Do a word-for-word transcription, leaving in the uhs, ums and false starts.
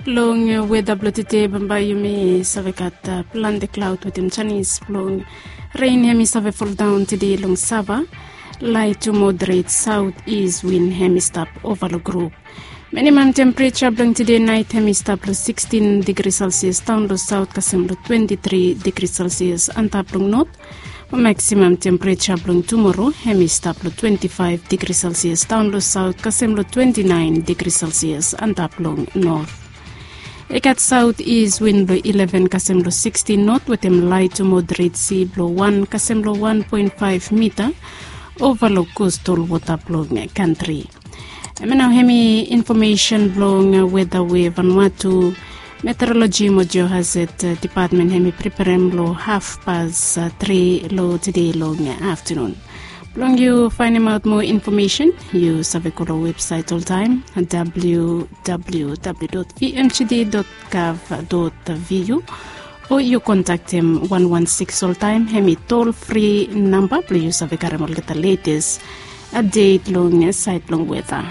Long weda blong tede bambae yumi save gat plante klaod wetem janis blong ren hem i save foldaon tede long sava. Lait tu moderet saot is win hem i stap ova long grup. Minimam tempereja blong tede nait hem i stap long sikstin digri selsias daon long saot kasem long twenti tri digri selsias antap long not. Maksimam tempereja blong tumoro hem i stap long twenti faef digri selsias daon long saot kasem long twenti naen digri selsias antap long not. I gat saot is win blong ileven kasem long sikstin not wetem lait tu moderet si blong wan kasem long wan poen faef mita ova long kostol wota blong kantri. Hemia nao hemi infomesen blong weda we Vanuatu Meteoroloji mo Geohazard Depatmen hemi preperem long hafpas tri long tede long aftenun. Blong yu faenemaot moa infomesen yu save go long websaet oltaem, www vmgd gov vu, o yu kontaktem wan wan siks oltaem hemi tol fri namba blong yu save karem olgeta letes apdet long saed blong weda.